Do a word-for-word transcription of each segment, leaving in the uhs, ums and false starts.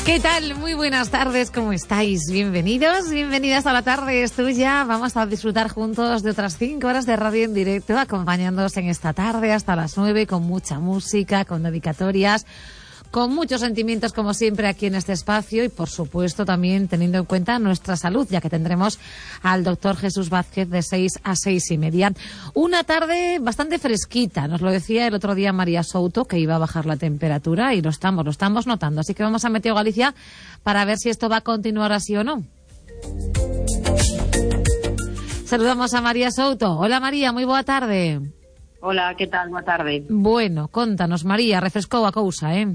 ¿Qué tal? Muy buenas tardes, ¿cómo estáis? Bienvenidos, bienvenidas a La Tarde es Tuya. Vamos a disfrutar juntos de otras cinco horas de radio en directo, acompañándoos en esta tarde hasta las nueve con mucha música, con dedicatorias, con muchos sentimientos como siempre aquí en este espacio y por supuesto también teniendo en cuenta nuestra salud, ya que tendremos al doctor Jesús Vázquez de seis a seis y media. Una tarde bastante fresquita, nos lo decía el otro día María Souto, que iba a bajar la temperatura y lo estamos, lo estamos notando. Así que vamos a Meteo Galicia para ver si esto va a continuar así o no. Saludamos a María Souto. Hola María, muy boa tarde. Hola, ¿qué tal? Boa tarde. Bueno, contanos María, refrescou a cousa, eh?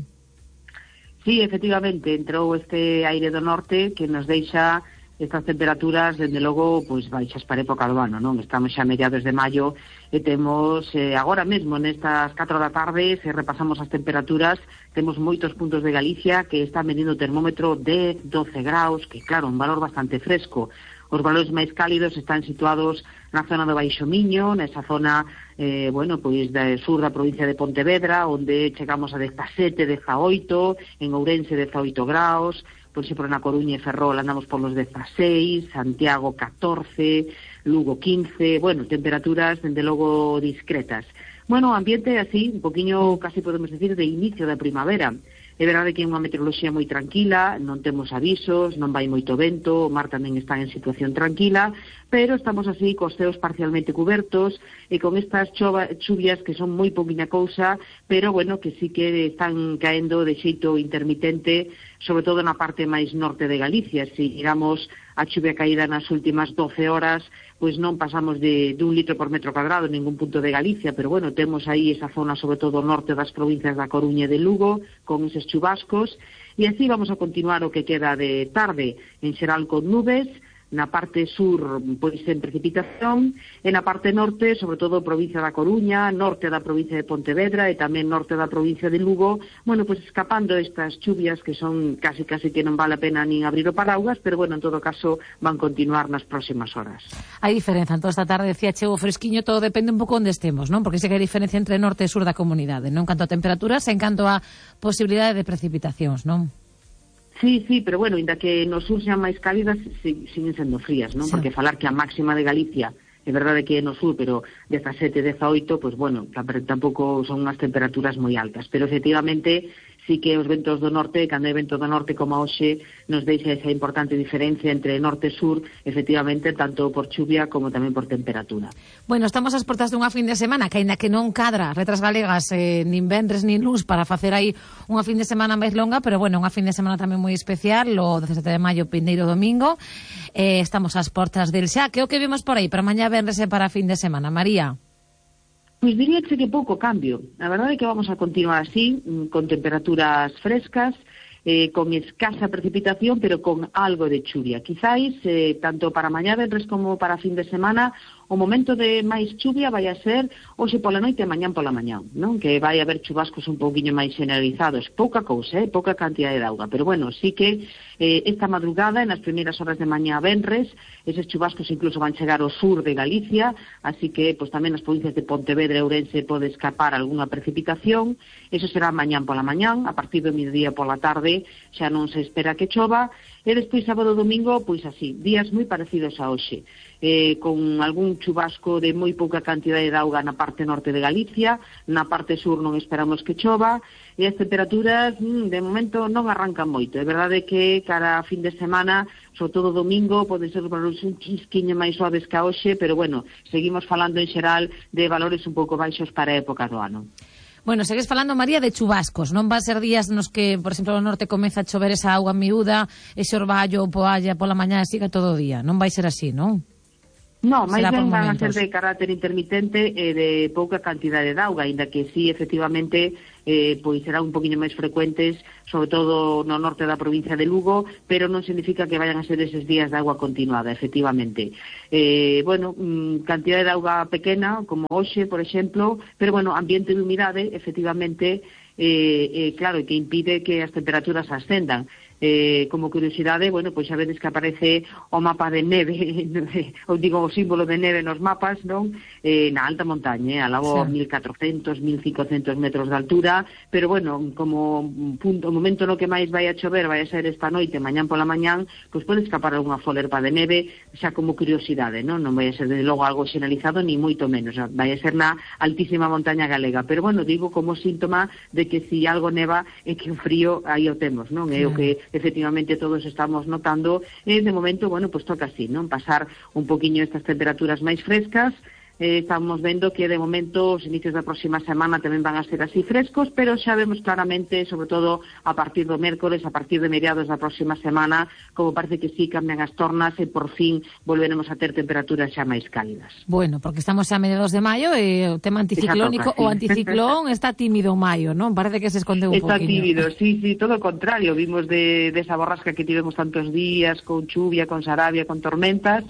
Sí, efectivamente, entrou este aire do norte que nos deixa estas temperaturas, dende logo, pois baixas para época do ano, non? Estamos xa a mediados de maio e temos, eh, agora mesmo, nestas catro da tarde, se repasamos as temperaturas, temos moitos puntos de Galicia que están medindo o termómetro dez, doce graus, que claro, un valor bastante fresco. Os valores máis cálidos están situados na zona do Baixo Miño, nesa zona, eh, bueno, pois do sur da provincia de Pontevedra, onde chegamos a dezasete, dezaoito, en Ourense dezaoito graus, por exemplo na Coruña e Ferrol andamos polos dezaseis, Santiago catorce, Lugo quince, bueno, temperaturas dende logo discretas. Bueno, o ambiente así, un poquinho, casi podemos decir, de inicio da primavera. É verdade que é unha meteoroloxía moi tranquila, non temos avisos, non vai moito vento, o mar tamén está en situación tranquila, pero estamos así cos ceos parcialmente cubertos e con estas chova, chuvias que son moi poquinha cousa, pero bueno, que sí que están caendo de xeito intermitente, sobre todo na parte máis norte de Galicia. Si miramos a chuvia caída nas últimas doce horas, pois non pasamos de, de un litro por metro cuadrado en ningún punto de Galicia, pero bueno, temos aí esa zona, sobre todo norte das provincias da Coruña e de Lugo, con eses chubascos, e así vamos a continuar o que queda de tarde, en xeral con nubes, na parte sur, pois en precipitación, e na parte norte, sobre todo provincia da Coruña, norte da provincia de Pontevedra e tamén norte da provincia de Lugo, bueno, pois escapando estas chuvias que son casi casi que non vale a pena nin abrir o paraugas, pero bueno, en todo caso van continuar nas próximas horas. Hai diferenza, entón esta tarde decía chego fresquiño, todo depende un pouco onde estemos, non? Porque sei que hai diferencia entre norte e sur da comunidade, non? En canto a temperaturas e en canto a posibilidade de precipitacións, non? Sí, sí, pero bueno, inda que nos sur sean máis cálidas, si, siguen sendo frías, non? Sí. Porque falar que a máxima de Galicia é verdade que é no sur, pero dezasete, dezaoito, pues bueno, tampouco son unhas temperaturas moi altas, pero efectivamente sí que os ventos do norte, cando hai vento do norte como hoxe, nos deixa esa importante diferencia entre norte e sur, efectivamente, tanto por chuvia como tamén por temperatura. Bueno, estamos ás portas dunha fin de semana, que aínda que non cadra Letras Galegas eh, nin vendres nin luns para facer aí unha fin de semana máis longa, pero bueno, unha fin de semana tamén moi especial, o dezasete de maio, Pindeiro Domingo, eh, estamos ás portas del xa, que o que vimos por aí para mañá vendres e para fin de semana, María? Pois diríache que pouco cambio. A verdade é que vamos a continuar así, con temperaturas frescas, eh, con escasa precipitación, pero con algo de chuvia. Quizáis, eh, tanto para mañá venres como para fin de semana, o momento de máis chuvia vai a ser hoxe pola noite e mañán pola mañán, non? Que vai haber chubascos un pouquiño máis generalizados, pouca cousa, eh? pouca cantidade de auga, pero bueno, sí que eh, esta madrugada, nas primeiras horas de mañá venres, eses chubascos incluso van chegar ao sur de Galicia, así que pues, tamén nas provincias de Pontevedra e Ourense pode escapar algunha precipitación, eso será mañán pola mañán, a partir do mediodía pola tarde xa non se espera que chova, e despois sábado e domingo, pois así, días moi parecidos a hoxe, eh, con algún chubasco de moi pouca cantidade de auga na parte norte de Galicia, na parte sur non esperamos que chova, e as temperaturas mm, de momento non arrancan moito. É verdade que cara a fin de semana, sobre todo domingo, pode ser valores un chisquiño máis suaves que a hoxe, pero bueno, seguimos falando en xeral de valores un pouco baixos para a época do ano. Bueno, segues falando, María, de chubascos. Non van ser días nos que, por exemplo, no norte comeza a chover esa auga miúda, ese orballo ou poalla pola mañá e siga todo o día. Non vai ser así, non? No, máis ben van a ser de carácter intermitente e de pouca cantidade de auga, ainda que sí, efectivamente, eh, pois serán un poquinho máis frecuentes, sobre todo no norte da provincia de Lugo, pero non significa que vayan a ser eses días de agua continuada, efectivamente. Eh, bueno, mm, cantidade de auga pequena, como hoxe, por exemplo, pero bueno, ambiente de humidade, efectivamente, eh, eh, claro, que impide que as temperaturas ascendan. Eh, como curiosidade, bueno, pois a veces que aparece o mapa de neve, ou digo o símbolo de neve nos mapas, non? Eh, na alta montaña, eh, alá a mil catrocentos, mil cincocentos metros de altura, pero bueno, como punto, o momento no que máis vai a chover vai a ser esta noite, mañán pola mañán, pois pode escapar unha folerpa de neve, xa como curiosidade, non? Non vai a ser, desde logo, algo xeneralizado, ni moito menos, vai a ser na altísima montaña galega, pero bueno, digo como síntoma de que si algo neva é que o frío aí o temos, non? É o que efectivamente todos estamos notando, e de momento, bueno, pois toca así, non? Pasar un poquinho estas temperaturas máis frescas. Eh, estamos vendo que de momento os inicios da próxima semana tamén van a ser así frescos, pero xa vemos claramente, sobre todo a partir do mércores, a partir de mediados da próxima semana, como parece que sí cambian as tornas e por fin volveremos a ter temperaturas xa máis cálidas. Bueno, porque estamos xa a mediados de maio e o tema anticiclónico, toca, sí. O anticiclón está tímido maio, non? Parece que se esconde un está poquinho. Está tímido, sí, sí, todo o contrario. Vimos de, de esa borrasca que tivemos tantos días, con chuvia, con Sarabia, con tormentas.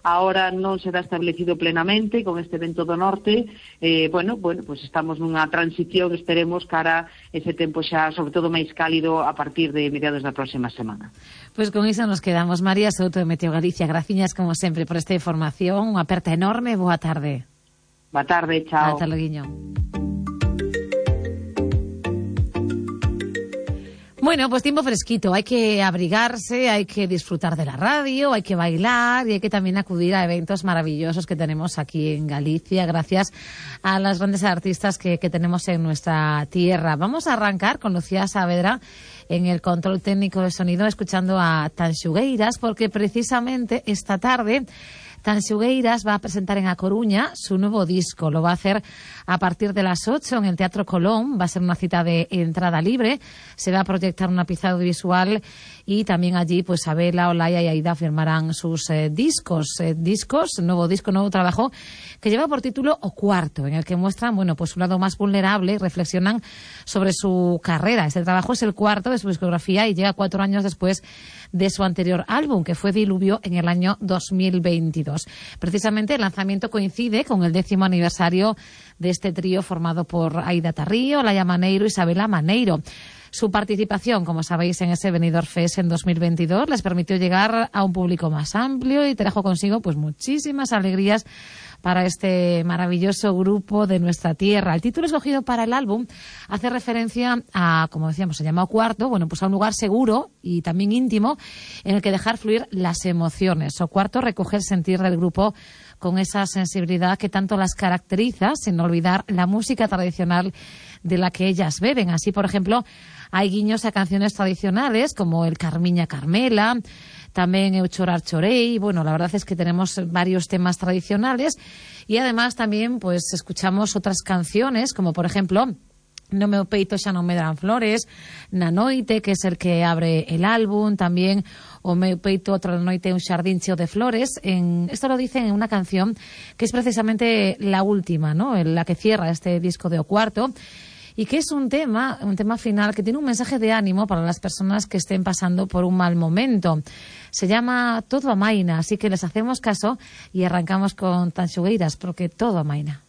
Ahora non se dá establecido plenamente con este vento do norte, eh, bueno, bueno, pues estamos nunha transición, esperemos, cara ese tempo xa, sobre todo máis cálido a partir de mediados da próxima semana. Pois pues con iso nos quedamos. María Souto de Meteo Galicia, graciñas como sempre por esta información, unha aperta enorme, boa tarde. Boa tarde, chao. Ata loguiño. Bueno, pues tiempo fresquito, hay que abrigarse, hay que disfrutar de la radio, hay que bailar y hay que también acudir a eventos maravillosos que tenemos aquí en Galicia, gracias a las grandes artistas que, que tenemos en nuestra tierra. Vamos a arrancar con Lucía Saavedra en el control técnico de sonido, escuchando a Tanxugueiras, porque precisamente esta tarde Tanxugueiras va a presentar en A Coruña su nuevo disco. Lo va a hacer a partir de las ocho en el Teatro Colón. Va a ser una cita de entrada libre. Se va a proyectar una pieza audiovisual y también allí pues Abela, Olaya y Aida firmarán sus eh, discos. Eh, discos, nuevo disco, nuevo trabajo que lleva por título O Cuarto, en el que muestran, bueno, pues su lado más vulnerable y reflexionan sobre su carrera. Este trabajo es el cuarto de su discografía y llega cuatro años después de su anterior álbum, que fue Diluvio, en el año dos mil veintidós. Precisamente el lanzamiento coincide con el décimo aniversario de este trío formado por Aida Tarrío, Olaya Maneiro y Isabela Maneiro. Su participación, como sabéis, en ese Benidorm Fest en dos mil veintidós les permitió llegar a un público más amplio y trajo consigo pues muchísimas alegrías para este maravilloso grupo de nuestra tierra. El título escogido para el álbum hace referencia a, como decíamos, se llama Cuarto, bueno, pues a un lugar seguro y también íntimo en el que dejar fluir las emociones. O Cuarto recoge el sentir del grupo con esa sensibilidad que tanto las caracteriza, sin olvidar la música tradicional de la que ellas beben. Así, por ejemplo, hay guiños a canciones tradicionales como el Carmiña Carmela, también Eu Chorar Chorei. Bueno, la verdad es que tenemos varios temas tradicionales y además también pues escuchamos otras canciones como, por ejemplo, No meu peito xa non me dan flores, Na noite, que es el que abre el álbum, también O meu peito outra noite un xardín cheo de flores. En, esto lo dicen en una canción que es precisamente la última, ¿no? La que cierra este disco de O Cuarto, y que es un tema, un tema final que tiene un mensaje de ánimo para las personas que estén pasando por un mal momento. Se llama Todo amaina, así que les hacemos caso y arrancamos con Tanxugueiras, porque todo amaina.